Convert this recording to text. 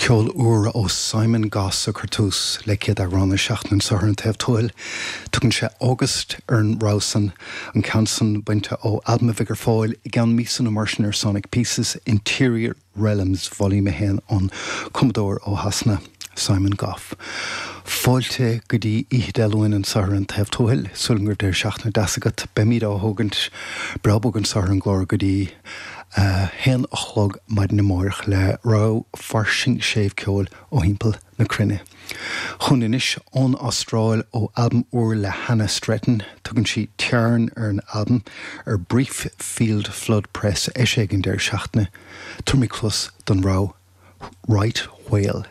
Ceol úr ó Simon Goss a chuir tús le chéad amhrán na seachtaine anseo ar An Taobh Tuathail. Tugann sé August ar an rogha san, an ceann san bainte ó albam a bheidh ar fáil i gceann míosa nó mar sin ar Sonic Pieces, Interior Realms Volume 1 ón cumadóir ó Shasana, Simon Goff. Fáilte go dtí oíche Dé Luain anseo ar An Taobh Tuathail. Súil agam go raibh deireadh seachtaine deas agat. Beimid á thógaint breá bog anseo ar an gclár go dtí a haon a chlog maidin amáireach le rogha fairsing séimh ceoil ó thimpeall na cruinne. Chugainn anois ón Astráil ó albam úr le Hannah Stretton. Tugann sí Tearn ar an albam ar Brief Field Flood Press eisithe ag an deireadh seachtaine. Tabharfaimid cluas don rogha Right Whale.